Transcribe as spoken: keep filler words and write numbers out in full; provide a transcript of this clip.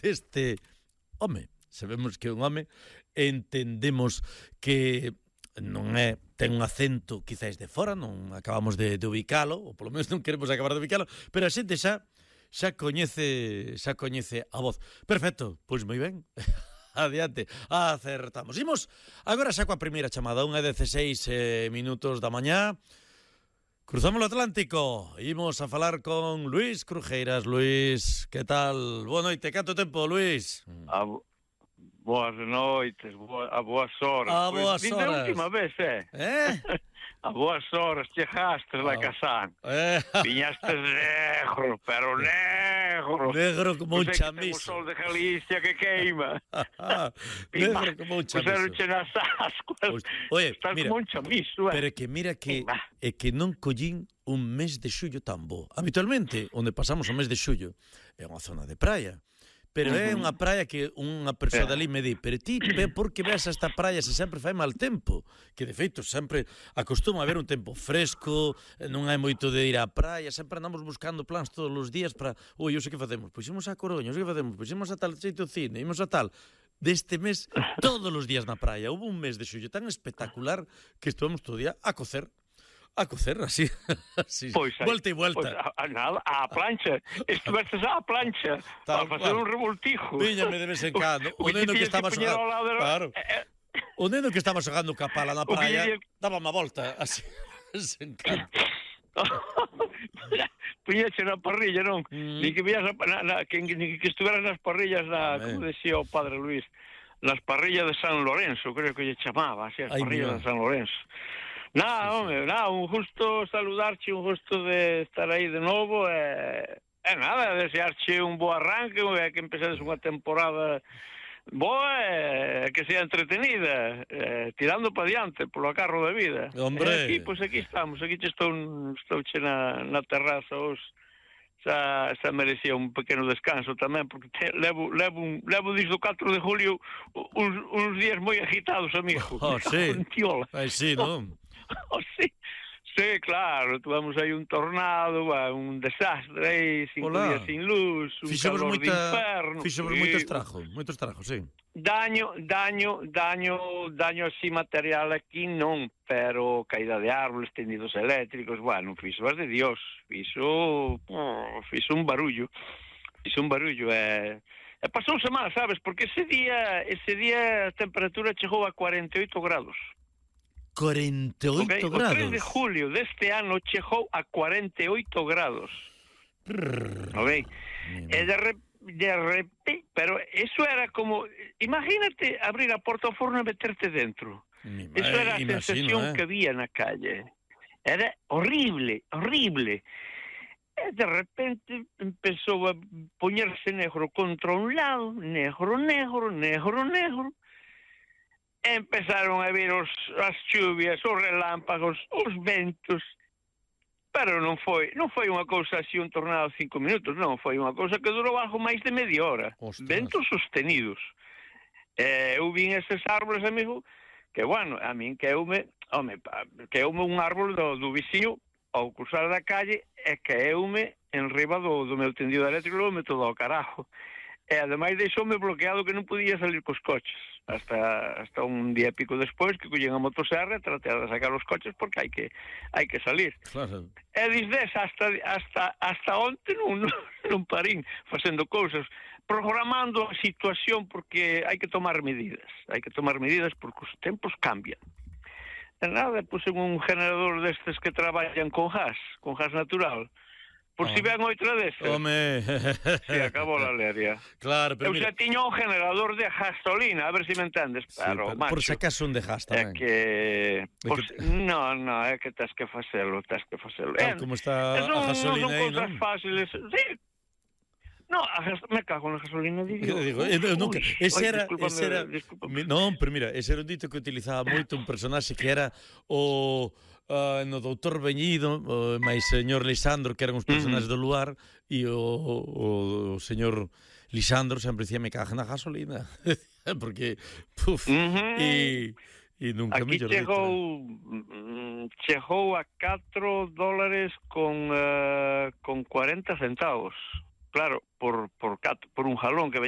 deste home. Sabemos que é un home, entendemos que non é, ten un acento quizáis de fora, non acabamos de, de ubicalo, ou polo menos non queremos acabar de ubicalo, pero a xente xa xa coñece, xa coñece a voz. Perfecto, pois moi ben. Adiante, acertamos. Imos agora xa coa primeira chamada, unha e dezseis eh, minutos da mañá. Cruzamos o Atlántico, imos a falar con Luís Crujeiras. Luís, que tal? Boa noite, canto tempo, Luís? A, boas noites, boa, a boas horas. A boas pues, horas. A última vez, eh? Eh? A boas horas, chegastes la oh. Casán. Eh. Viñastes negro, pero negro. Negro como un pues chamizo. O sol de Galicia que queima. Negro como un chamizo. Puseronche nas ascuas. Oye, estás mira, como un chamizo, eh? Pero que mira que é que non collín un mes de xullo tan bo. Habitualmente, onde pasamos o mes de xullo, é unha zona de praia. Pero é unha praia que unha persoa dali me di, pero ti, por que ves esta praia se sempre fai mal tempo? Que de feito sempre acostuma a haber un tempo fresco, non hai moito de ir á praia, sempre andamos buscando plans todos os días para, oi, eu sei que facemos, pois imos a Coruña, eu sei que facemos, pois imos a tal xeito cine, imos a tal. Deste mes, todos os días na praia. Houve un mes de xullo tan espectacular que estuvemos todo o día a cocer. A cocer, así, así. Pois, Volta e volta. Pois, a, a, nada, a plancha. Estivestes á plancha para facer un revoltijo. Víñame de vez en cando. O neno que estaba xogando... Claro. O neno que estaba xogando ca pala na praia daba má volta, así, sen canto. Puñeche na parrilla, non? Mm. Ni que vías na, na, que, ni que estuveras nas parrillas na, Amén. Como decía o padre Luís, nas parrillas de San Lorenzo, creo que lle chamaba, así, as Ay, parrillas mira. de San Lorenzo. Nada, sí, home, sí. nada, un gusto saludarche, un gusto de estar aí de novo, e, e nada, desearche un bo arranque, e que empezades unha temporada boa, e que sea entretenida, e, tirando para diante, polo carro da vida. Hombre! E aquí, pois pues aquí estamos, aquí estou, estou che na, na terraza, os, xa, xa merecía un pequeno descanso tamén, porque te, levo, levo, un, levo desde o catro de julio uns, uns días moi agitados, amigo. Oh, sí. Ai, sí, non? Oh, sí, sí, claro, tuvamos aí un tornado, un desastre aí, cinco Hola. días sin luz, un Fixemos calor moita, de inferno. Fixemos sí. moito estrago, moito estrago, sí. Daño, daño, daño, daño así material aquí non, pero caída de árboles, tendidos eléctricos, bueno, fixo as de Dios, fixo, oh, fixo un barullo, fixo un barullo, e... E pasouse mal, sabes, porque ese día, ese día a temperatura chegou a cuarenta e oito grados. cuarenta e oito okay? grados. O tres de julio deste ano chegou a cuarenta e oito grados. Ok? E de repente, de repente, pero eso era como, imagínate abrir a porta ao forno e meterte dentro. Eso era a imagino, sensación eh? que había na calle. Era horrible, horrible. E de repente empezou a poñerse negro contra un lado, negro, negro, negro, negro. Empezaron a vir os, as chuvias, os relámpagos, os ventos, pero non foi non foi unha cousa así, un tornado de cinco minutos, non, foi unha cousa que durou algo máis de media hora. Ostras. Ventos sostenidos. Eh, eu vin eses árboles, amigo, que, bueno, a min queume, home, queume un árbol do, do viciño ao cruzar da calle e queume en riba do, do meu tendido eléctrico, me todo ao carajo. E ademais deixoume bloqueado que non podía salir cos coches hasta hasta un día e pico despois que collen a motosserra e tratar de sacar os coches porque hai que hai que salir. Claro. E desde hasta hasta hasta onte non, non parín facendo cousas, programando a situación porque hai que tomar medidas, hai que tomar medidas porque os tempos cambian. E nada, puse un generador destes que traballan con gas, con gas natural. Por oh. si ven outra desas. Home. Se acabou a leria. Claro, pero eu xa tiño un generador de gasolina, a ver se si me entendes. Sí, pero, pero macho, por si acaso un de gas tamén. É que... Por... que te... No, no, é que tens que facelo, tens que facelo. Tal eh, como está non, a gasolina aí, non? Non son cousas fáciles. Sí. No, a gas... me cago na gasolina, digo. digo Uy, eu nunca... Ese era... Ese era... Discúlpame. Non, pero mira, ese era un dito que utilizaba moito un personaxe que era o... Uh, no doutor Beñido, o máis señor Lisandro, que eran os personaxes uh -huh. do lugar, e o, o, o señor Lisandro sempre dicía me caga na gasolina, porque puf, uh -huh. e, e nunca aquí mellor chegou dito. Chegou a catro dólares con uh, con cuarenta centavos. Claro, por por cat, por un jalón que veña